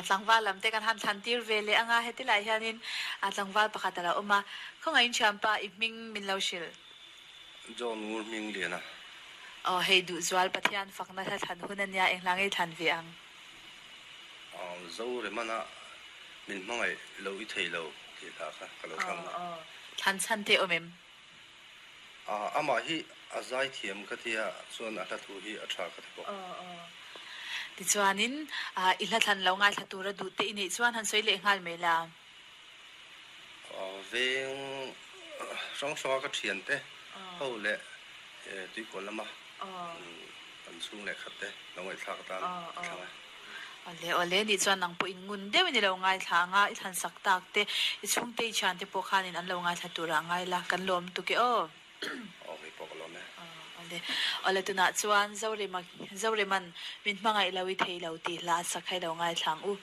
Tlangval lam te kan han thlan tir ve leh anga heti lai hianin tlangval pakhat a lo awm a, khawngaihin thianpa i hming min lo hrilh. John Ngur hming lian a. Aw hei Duhzual Pathian fakna hla thlan hun a nia eng hla ngei thlan ve ang. Zoremana min hmangaih lo i thei lo tih hla kha ka lo thlang a. Aw thlan chhan te awm em? Amah hi a zaithiam ka tia chuan a hla thu hi a tha ka ti bawk. Aw aw. Tichuanin i hla thlan lo ngaithla tura duh te i neih chuan han sawi leh nghal mai la. Veng hrang hranga ka thiante ho leh tuikawl lama kan chhung leh khat te lo ngaihthlak atan ka thlang e. Awle awle nih chuan nang pawh in ngun deuhin i lo ngaithla ang a, i thlan sak tak te, i chhungte i thiante pawh khanin an lo ngaithla turah ngai la, kan lawm tuk e aw. Aw hei pawh ka lawm e. Awle awle tunah chuan Zorema Zoreman min hmangaih lo i thei lo tih hla a sak kha i lo ngaithla ang u.